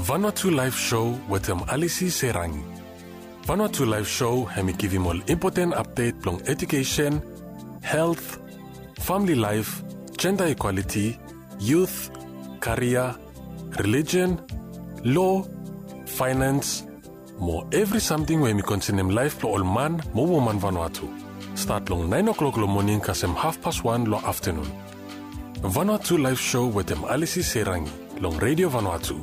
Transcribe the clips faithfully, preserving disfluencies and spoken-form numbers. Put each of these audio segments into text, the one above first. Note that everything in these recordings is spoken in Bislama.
Vanuatu Live Show wetem Alisi Serangi. Vanuatu Live Show hem i givim ol impoten apdet blong edukesen, helt, famili laef, jenda ikwaliti, yut, karia, relijen, lo, faenans, mo evri samting we hem i konsenem laef blong ol man mo woman Vanuatu. Stat long naen o'klok long moning kasem hafpas wan long aftanun. Vanuatu Live Show wetem Alisi Serangi long Redio Vanuatu,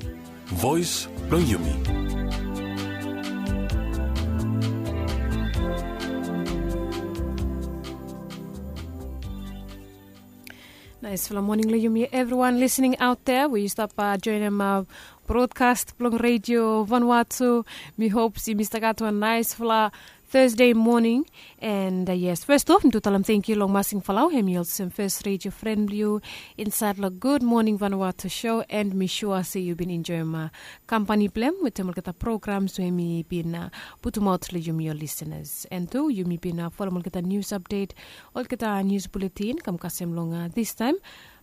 voes blong yumi. Naesfala moning long yumi evriwan lisening aot dea we yu stap joenem brodkas blong Redio Vanuatu. Mi hop se yumi stap gat wan naesfala Thursday moning. And yes, fes of mi tu talem tangkiu long Masing Falau, hem i olsem fes redio fren blong yu insaed long Gud Moning Vanuatu show, and mi sua se yu bin enjoem kampani blong hem wetem olgeta programs we mi bin putumaot long yumi ol lisenas. And tu yumi bin folem olgeta nius apdet, olgeta nius buletin kam kasem long distaem.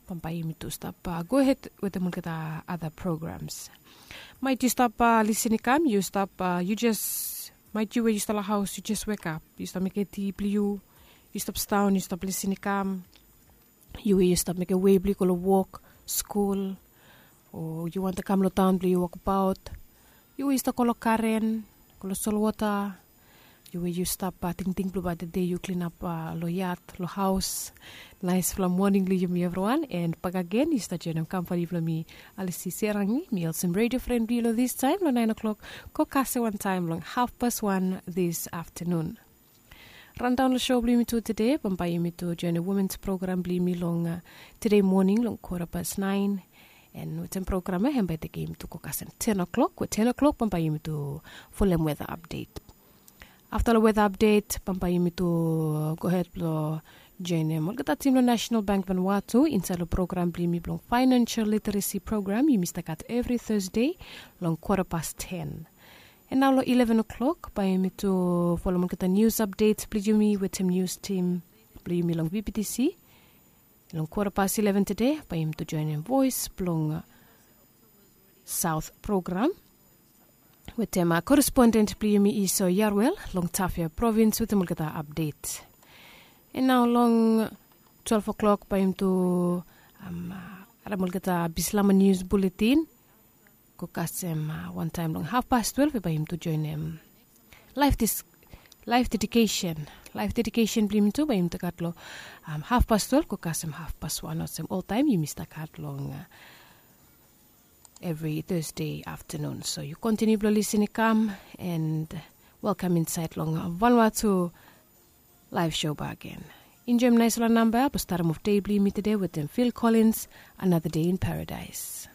Bambae yumi tu stap gohed wetem olgeta ada programs. Maet yu stap lisin i kam, yu stap, yu jes, maet yu we yu stap long haos, yu jes wekap, yu stap mekem ti blong yu, yu stap sidaon, yu stap lisin i kam. Yu we yu stap mekem wei blong yu go long wok, skul, o yu wantem kam long taon blong yu wokbaot. Yu we yu stap go long garen, go long solwota. Yu we yu stap tingting blong bae tede yu klinap long yat, long haos. Naesfala moning long yumi evriwan, and bakegen yu stap joenem kampani blong mi, Alisi Serangi. Mi olsem redio fren blong yu long distaem long naen o'klok go kasem wantaem long hafpas wan dis aftanun. Randaon long show blong yumi tu tede, bambae yumi tu joenem womens program blong yumi long tede moning long kwota pas naen. And wetem program ya hem bae tekem yumi tu go kasem ten o'klok, we ten o'klok bambae yumi tu folem weta apdet. Afta long weta apdet bambae yumi tu gohed blong joenem olgeta tim long National Bank Vanuatu insaed long program blong yumi blong Financial Literacy Program yumi stap gat evri Thursday long kwota pas ten. And nao long eleven o'klok bae yumi tu folem olgeta nius apdet blong yumi wetem nius tim blong yumi long VPTC. Long kwota pas eleven tede bae yumi tu joenem Voes blong Saot program wetem koresponden blong yumi Iso Yarwel long Tafea provins wetem olgeta apdet. And nao long twelve o'klok bae yumi tu harem olgeta Bislama nius buletin go kasem wantaem long hafpas twelve we bae yumi tu joenem laef dis, laef dedikesen. Laef dedikesen blong yumi tu bae yumi tu gat long hafpas twelve go kasem hafpas wan olsem oltaem yumi stap gat long evri Thursday aftanun. So yu kontiniu blong lisin i kam, and welkam insaed long Vanuatu Live Show bakegen. Enjoem naesfala namba blong statem of dei blong yumi tede wetem Phil Collins, Another Day in Paradise.